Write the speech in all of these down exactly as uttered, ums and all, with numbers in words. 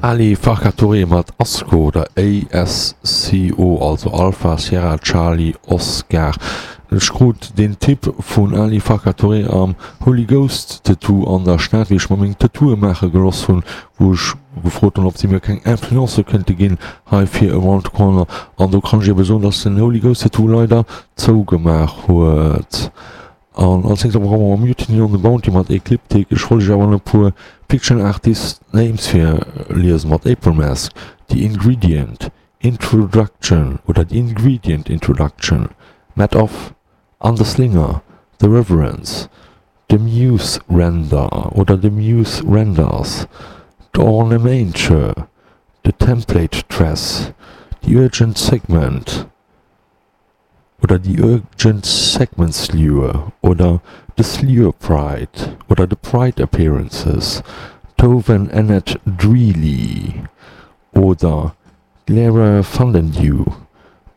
Ali Farka Touré mat Asco oder A S C O, also Alpha Sierra Charlie Oscar. Ech krut den Tipp vun Ali Farka Touré am Holy Ghost Tattoo an der Stad, wéi ech mer meng Tattooe maache gelooss hunn, wou ech gefrot hunn, ob si mir keng Influence kënnte ginn hei fir Around the Corner. An do kann ech ebe soen, dass den Holy Ghost Tattoo leider zougemaach huet. An als nächst brauche mer Mutiny on the Bounty mat Ecliptic. Ech wollt iech awer nach e puer Fiction Artist Names virliesen mat April Mask, The Ingredient, Introduction oder The Ingredient Introduction, Matt Off, Anders Linger, The Reverence, The Muse Render oder The Muse Renders, The Ornamenture, The Template Dress, The Urgent Segment oder The Urgent Segment Slewer oder The Slewer Pride oder The Pride Appearances, Tove and Annette Dreely oder Clara Vandendew,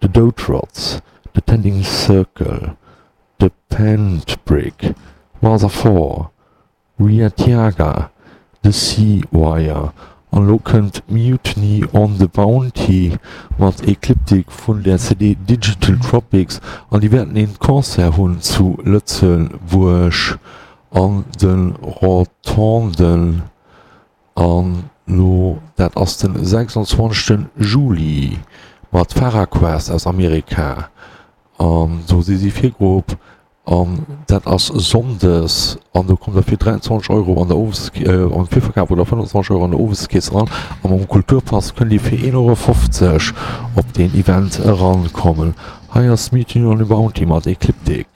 The Dotrods, The Tending Circle, The Pantbrick, Mother Four, Riatiaga, The Sea Wire. An lo kënnt Mutiny on the Bounty mat Ecliptic vun der C D Digital Tropics an déi wäerten een Concert hunn zu Lëtzebuerg an de Rotonden an lo dat ass den sechsundzwanzegste. Juli mat Farah Quest aus Amerika an do si si Virgrupp an dat ass sonndes an do kommt der fir dräianzwanzeg Euro an der Owes äh, am Virverkaf oder fënnfanzwanzeg Euro an der Oweskeess eran a mam Kulturpass kënnt dir fir een Euro fofzeg op den Event erankommen. Hei ass Mutiny on the Bounty mat Ecliptic.